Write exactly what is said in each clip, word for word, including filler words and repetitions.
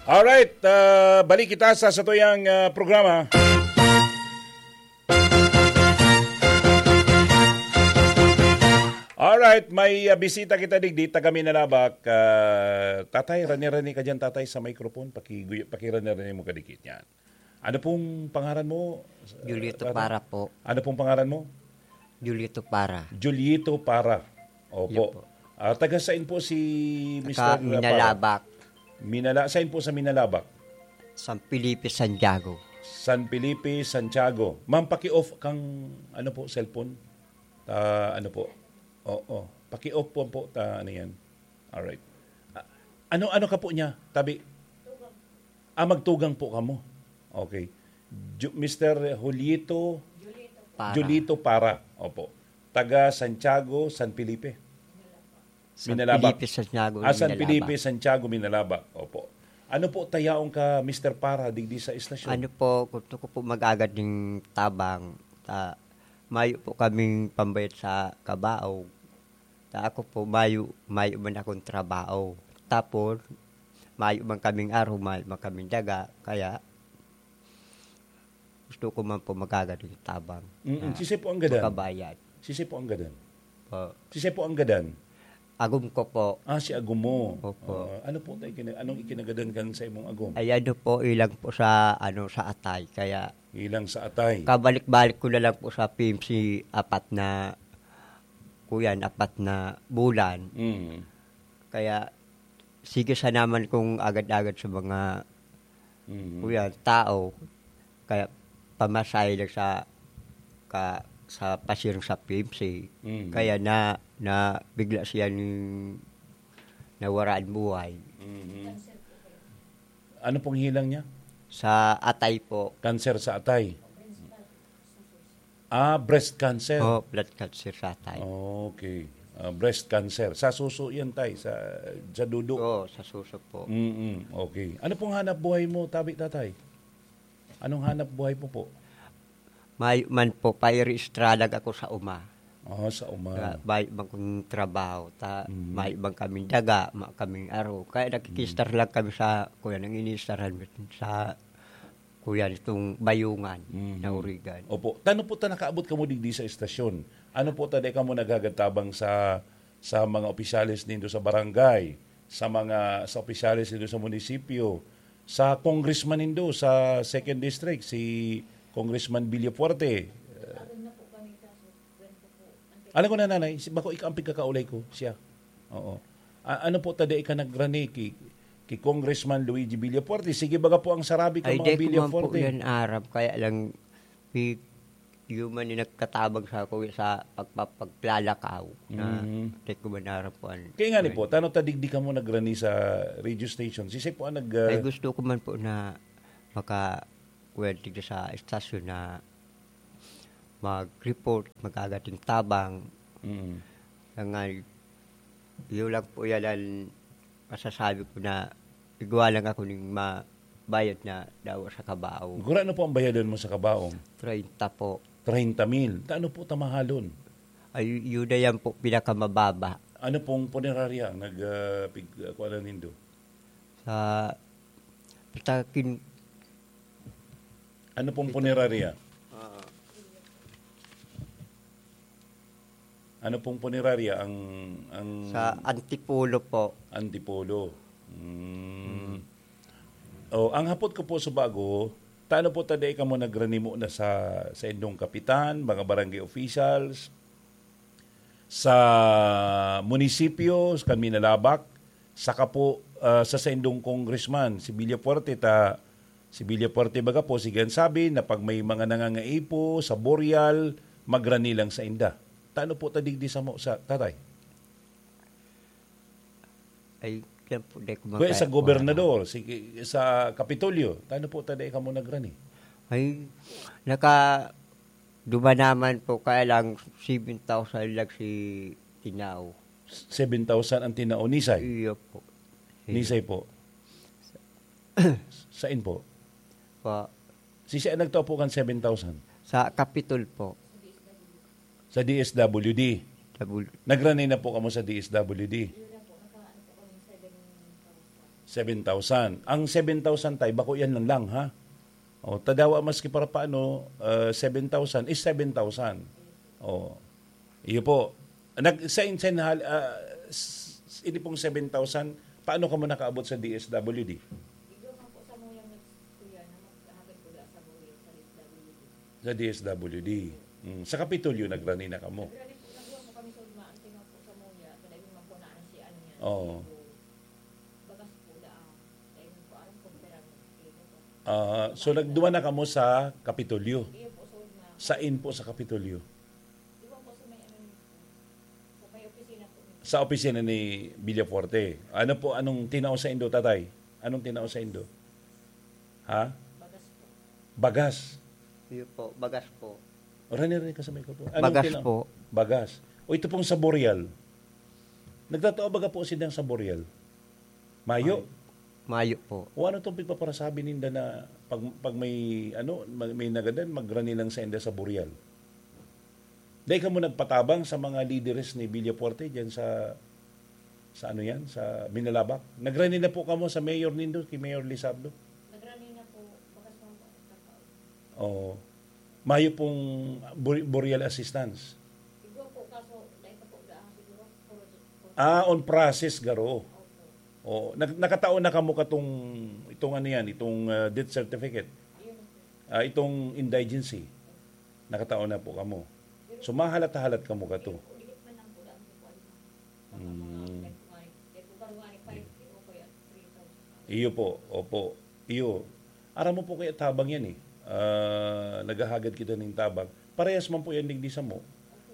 Alright, ah, balik kita sa satuyang, ah, programa. Alright, may, ah, bisita kita digdi, taga Minalabac. Ah, tatay, rani-rani ka dyan, tatay, sa microphone. Pakiguy-, pakirani-rani mo kadikit yan. Ano pong pangaran mo? Julito Tatay? Para po. Ano pong pangaran mo? Julito Para. Julito Para. Opo. Yun po. Ah, taga saan po si Taga Mister Para? Minalabac. Minala-, saan po sa Minalabac? San Felipe, Santiago. San Felipe, Santiago. Ma'am, paki-off kang, ano po, cellphone? Ah, ano po? Oo. Paki-off po po, ta, ano yan? Alright. Ah, ano, ano ka po niya? Tabi. Ah, magtugang po kamo. Okay. Ju-, Mister Julito Para. Julito Para. Opo. Taga Santiago, San Felipe. San Minalabac. Felipe, Santiago, Ah, San Minalabac. Felipe, Santiago, Minalabac. Opo. Ano po tayaon ka, Mister Para, digdi sa estasyon? Ano po, gusto ko po mag-agad ng tabang. Ta, mayo po kaming pambayad sa kabaog. Ta, ako po, mayo, mayo man akong trabaho. Tapos, mayo man kaming aro, mayo man kaming daga. Kaya, gusto ko man po mag-agad ng tabang. Mm-mm. Na Sisay po ang gadan? Makabayad. Sisay po ang gadan? Po. Sisay po ang gadan? Agom ko po. Ah, si agom mo. Opo. Ah, ano po tayo kina-, anong ikinagadan kan sa imong agom? Ay, ano po, ilang po sa, ano, sa atay. Kaya Ilang sa atay. Kabalik-balik ko na lang po sa P M C apat na, kuyan, apat na bulan. Mm. Kaya, sige sa naman kung agad-agad sa mga, Mm. kuyan, tao. Kaya, pamasahe lang sa, ka, sa pasirang sa P M C. Mm. Kaya na, na bigla siya ning nawaraan buhay. Mm. Ano pong hilang niya? Sa atay po. Cancer sa atay? Ah, breast cancer. Oh, blood cancer sa atay. Okay. Ah, breast cancer. Sa suso yan, tay, sa, sa dudo. Oo, sa suso po. Mm-mm. Okay. Ano pong hanap buhay mo, tabi, tatay? Anong hanap buhay mo po? Mayo man po, pairi-estralag ako sa uma. Ah, sa uma. Kaya mayo man kong trabaho, ta, Mm. mayo man kaming daga, mayo kaming aro. Kaya nakikistar Mm. lang kami sa, kuya, nang inistaran sa, kuya, itong bayungan Mm. na urigan. Opo. Tano po ta nakaabot kamo digdi sa estasyon? Ano po ta, di kamo naghahatabang sa, sa mga opisyales nindo sa barangay, sa mga, sa opisyales nindo sa munisipyo, sa congressman nindo sa second district, si Congressman Villafuerte? Alam ko na, nanay, si, bako ika ang pigkakaulay ko, siya. Oo. A-, ano po ta dai ka nagrani ki, ki Congressman Luigi Villafuerte? Sige, baga po ang sarabi ka, Ay, mga dai ko man po Villafuerte. yan aram, kaya lang, pi-, yun man yung nagkatabang sa ako sa pagpapaglalakaw na Mm. dai ko man aram po an-, Kaya nga ni po, tano ta digdi kamo nagrani sa radio station? Sisay po ang nag, ah, Ay, gusto ko man po na maka-, kuwan, tigda sa estasyon na mag-report, mag-agating tabang. Mm. Kaya nga, yun lang po yan ang masasabi ko na igwa lang ako ning mabayad na dawa sa kabaong. Gurano po ang bayadan mo sa kabaong? Treinta po. Treinta mil. Tano po ta mahalon? Ay, yun na yan po, pinakamababa. Ano pong punerarya ang nag, ah, pig-, ah, kuwan na nindo? Sa pitakin. Ano pong Pita- punerarya? Ah. Ano pong punerarya ang, ang Sa Antipolo po. Antipolo? Mm. Mm. Oh, ang hapot ko po sa bago, tano po ta dai kamo nagranimo na sa, sa indong kapitan, mga barangay officials, sa munisipyo, sa Minalabac, saka po, ah, sa saindong congressman, si Villafuerte, ta, si Villafuerte baga po, sige an sabi na pag may mga nangangaipo sa burial, magrani lang sa inda. Tano po ta digdi sa mo, sa tatay? Ay, yan po, di ko Well, sa maka-, gobernador, sige, sa Kapitolyo, tano po ta dai kamo nagrani? Ay, naka-, dumanaman po, kaya lang seven thousand lang si tinao. Seven thousand ang tinao, nisay? Iyo po. Iyo. Nisay po? Sain po? Pa- Sisay ang nagtao po kan seven thousand? Sa Kapitol po. Sa D S W D? Double. Nagrani na po kamo sa D S W D? Seven thousand. Ang seven thousand, tay, bako yan lang, lang, ha? O, tadawa maski para paano, ah, seven thousand is seven thousand. O, iyo po. Nag, sa, sa, ah, s-, s-, ini pong seven thousand, paano ka mo nakaabot sa D S W D? Igwa man po sa Moya Mix, kuya, na maghahagad po da sa Moya sa D S W D. Sa D S W D. Mm. Sa Kapitolyo, nagrani na kamo? Nagrani po, nagwa po kami sa Udma, ang tingnan po sa Moya, sa Daigong Mapunaan, si ano yan, Oo. si Bagas po da, ah, Daigong po, aram ko, pero ano, Ah, so, nagduwa na kamo sa Kapitolyo? Iyo po, sa Udma. Sain po sa Kapitolyo? Iwan po sa may ano, sa may opisina po. Sa opisina ni Villafuerte. Ano po, anong tinao sa indo, tatay? Anong tinao sa indo? Ha? Bagas po. Bagas. Iyo po, bagas po. Rani, rani ka sa microphone. Anong Bagas tina-, po. Bagas. O, ito pong sa Boreal. Nagtatao baga po silang sa Boreal? Mayo? Mayo po. O ano tong pagpaparasabi ninda na pag, pag may, ano, may, may nagadan, magrani lang sa inda sa Boreal? Dai kamo nagpatabang sa mga lideres ni Villafuerte diyan sa, sa ano yan, sa Minalabac? Nagrani na po kamo sa mayor nindo, kay Mayor Lizardo? Nagrani na po, bakas mga po, nagkakaon. Oo. Mayo pong bur-, burial assistance? Igwa po, kaso, dai pa po, daan siguro, puro, puro Ah, on process garo. Opo. Oo. Nag-, nakataon na kamo katong, itong ano yan, itong, ah, death certificate? Ayun po. Ah, itong indigency? Nakataon na po kamo. So, mahalat-halat kamo kato. Dikit man lang po, daan po po, ano, Mm. Iyo po, opo. Iyo. Aram mo po kaya tabang yan eh. Ah, naghahagad kita ning tabang. Parehas man po yan digdi samo.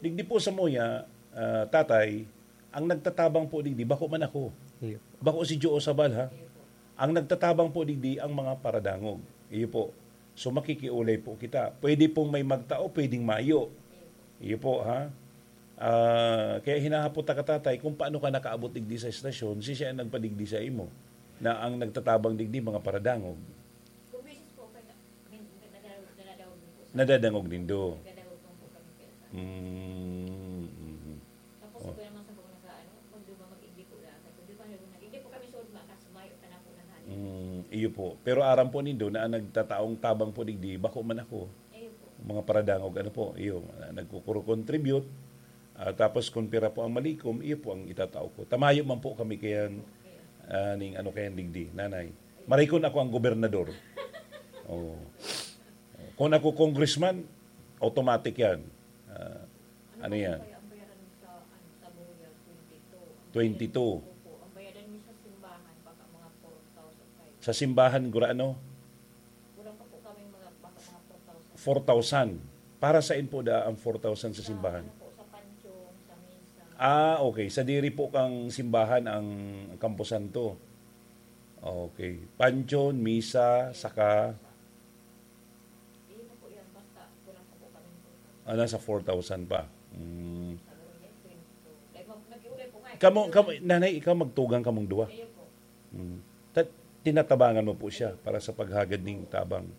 Digdi po samo ya, ah, tatay, ang nagtatabang po digdi, bako man ako. Iyo. Bako si Joe Sabal, ha? Ang nagtatabang po digdi, ang mga paradangog. Iyo po. So, makikiulay po kita. Pwede pong may magtao, pwedeng mayo. Iyo po, ha? Ah, kaya hinahapot ta ka, tatay, kung paano ka nakaabot digdi sa estasyon, si siya ang nagpadigdi sa imo, na ang nagtatabang digdi, mga paradangog. Kung misis po, kaya, min-, nadadangog, nadadangog niyo po sa Nadadangog nindo. Nadadangog lang po kami kaya sa Mm, mhm. Tapos Oh. ako naman sa mga nag-aano, magduba, mag-igdi po lang. Sabi ko, "Di ba, nag-igdi po kami sa Udma, kaso mayo ka na po nag-aano." Mm, iyo po. Pero aram po nindo na ang nagtataong tabang po digdi, bako man ako. Iyo po. Mga paradangog, ano po, iyo, nagkukuro-contribute. Ah, tapos kung pira po ang malikom, iyo po ang itatao ko. Ta mayo man po kami kayan, ah, ning ano kayan digdi, nanay. Marikon ako ang gobernador. Oo. Kung ako congressman, automatic yan. Ah, ano yan? Kaya ang bayaran mo sa, ano, sa Boya, twenty-two. Twenty-two. Opo, ang bayaran mo sa simbahan, baka mga four thousand five. Sa simbahan, gura ano? Wala pa po kaming mga, baka mga four thousand. Four thousand. Para saan po da ang four thousand sa simbahan? Sa, ano po, sa pansyong, sa misa. Ah, okay. Sa diri po kang simbahan ang Camposanto. Okay. Pansyong, misa, saka Hindi na po yan. Basta wala pa po kaming four thousand. Ah, nasa four thousand pa. Mm. Sa Boya, twenty-two. Dahil mag-, nag-iulay po nga eh. Kamo, kamo, nanay, ikaw magtugang kamong duwa. Ayun po. Mm. Ta-, tinatabangan mo po siya para sa paghagad ning tabang.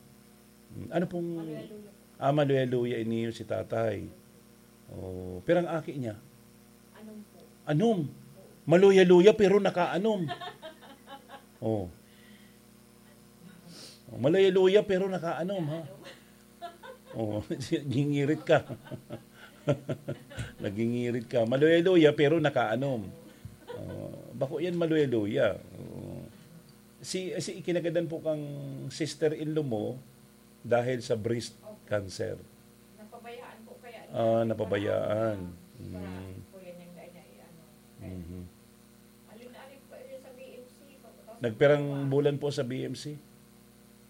Mm. Ano pong Maluya-luya po. Ah, maluya-luya ini si tatay. Oh, pirang aki niya? Anom po. Anom. Maluya-luya pero nakaanom. Oh. Oh, maluya-luya pero nakaanom, ha? Oh, gingirit ka. Nagingirit ka. Maluya-luya pero nakaanom. Oh, bako yan maluya-luya. Oh. Si, si ikinagadan po kang sister-in-law mo dahil sa breast cancer. Napabayaan po kaya. Ah, napabayaan. Para Mm. po yan yung dahil na i-ano. Mhm. Alin-alin pa yun sa B M C, pagkatapos Nagpirang buwan po sa B M C?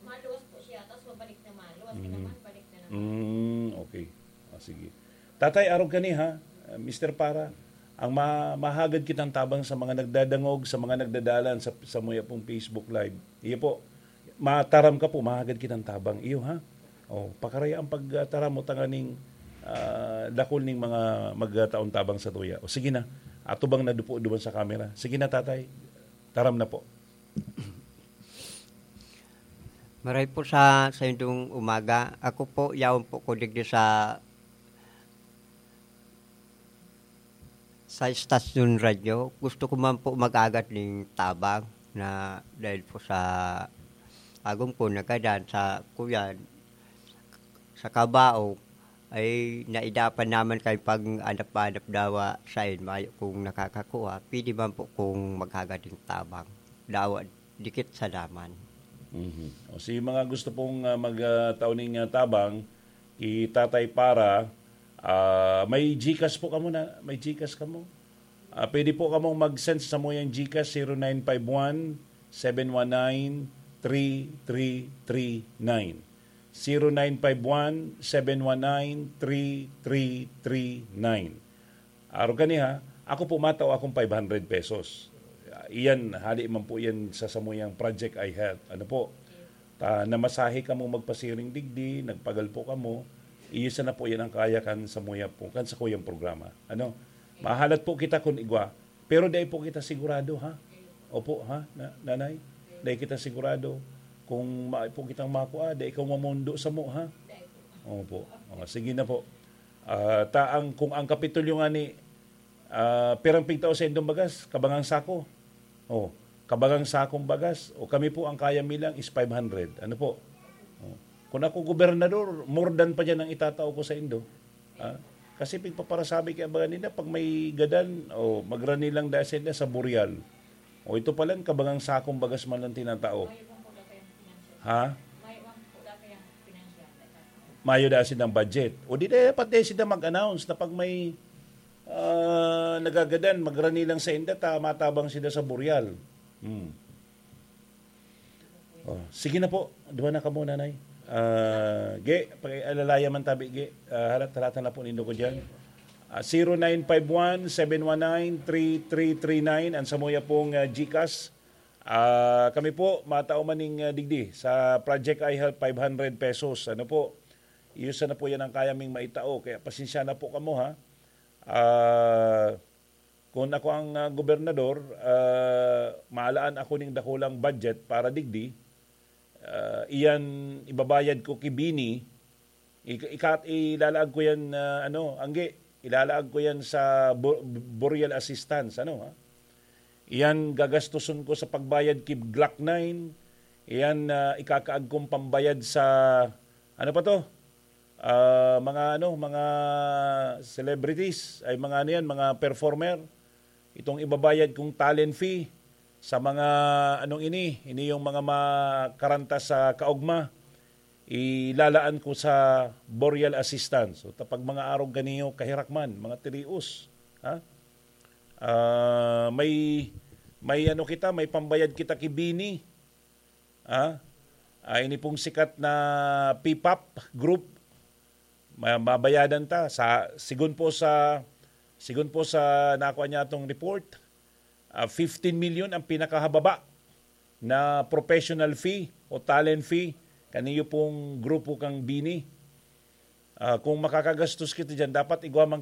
Maluwas po siya, tapos mabalik na maluwas. Mhm. Kinaman, balik na naman. Mm, okay. Ah, sige. Tatay, arog kani ha, Mister Para, ang ma-, mahagad kitang tabang sa mga nagdadangog, sa mga nagdadalan sa, sa muya pong Facebook Live. Iyo po, mataram ka po, mahagad kitang tabang. Iyo ha? Oh, pakaraya ang pagtaram mo tanganing, ah, dakul ning mga magtaon tabang sa tuya. O sige na, atubang na dupo duman sa kamera. Sige na, tatay, taram na po. Maray po sa, sa indong umaga. Ako po, yaon po ko digdi sa, sa istasyon radyo. Gusto ko man po mag-agad ning tabang. na dahil po sa agom ko, nagadan sa kuyan, sa kabaong, ay naidapan naman kay pag-anap-anap dawa sain, mayo kung nakakakuha, pwede man po kung maghagad ng tabang. Dawa dikit sa laman. Mhm. O, si mga gusto pong, ah, mag, ah, tao ning, ah, tabang, ki Tatay Para, ah, may GCash po kamo na, may GCash kamo? Ah, pwede po kamong mag-send sa samuyang GCash, zero nine five one, seven one nine, three three three nine. Zero nine five one, seven one nine, three three three nine. Arog kani ha, ako po matao akong five hundred pesos. Iyan, hali man po yan sa samuyang Project iHealth. Ano po? Ta, namasahe kamo magpasiring digdi, nagpagal po kamo, iyo sana po yan ang kaya kan samuya po, kan sakuyang programa. Ano? Mahalat po kita kun igwa, pero dai po kita sigurado, ha? Opo, ha, na, nanay? Dai kita sigurado kung maay po kitang makua, dai ikaw mamundo samo, ha? Opo. O, sige na po. Ah, ta ang, kung ang Kapitolyo nga ni, ah, pirang pigtao sa indong bagas, kabangang sako. O, kabangang sakong bagas. O, kami po, ang kaya mi lang is five hundred. Ano po? O, kung ako gobernador, more than pa dyan ang itatao ko sa indo. Ah, kasi pigpaparasabi kaya baga nila, pag may gadan, o, magrani lang dahil sila sa Boreal. O, ito pala, kabangang sakong bagas man lang tinatao. Ha? Mayo da sindang budget. O di dapat dai sinda mag-announce na pag may, ah, nagagadan, magrani lang sa inda, ta matabang sinda sa Boreal. Hmm. Oh, sige na po. Duha na kamo, nanay. Ah, ge, pakialalayan man tabi, ge. Ah, halat-halatan na po nindo ko dyan. Ah, zero nine five one, seven one nine, three three three nine, ang samuya pong, ah, GCash. Ah, kami po, matao man ning, ah, digdi sa Project iHealth, five hundred pesos. Ano po? Iyo sana po yan ang kaya ming maitao. Kaya pasensya na po kamo, ha. Ah, kun ako ang, ah, gobernador, ah, maalaan ako ning dakulang budget para digdi. Ah, iyan ibabayad ko ki Bini. Ika-, ika-, ilalaag ko yan, ah, ano, angge, ilalaag ko yan sa bo-, Boreal Assistance, ano, ha? Iyan gagastuson ko sa pagbayad ki Glock nine. Iyan, ah, ikakaag kong pambayad sa, ano pa to? Ah, mga, ano, mga celebrities, ay mga, ano yan, mga performer. Itong ibabayad kong talent fee sa mga, anong ini, ini yung mga makaranta sa kaogma, ilalaan ko sa Boreal Assistance. So, ta pag mga arog kaniyo, kahirak man, mga tirios, ha? Ah, may, may ano kita, may pambayad kita ki Bini. Ha? Ah, ini pong sikat na P-pop group, ma-, mabayadan ta. Sa, sigon po sa, sigon po sa nakuha niya atong report, ah, fifteen million ang pinakahababa na professional fee o talent fee kaniyo pong grupo kang Bini. Ah, kung makakagastos kita dyan, dapat igwa man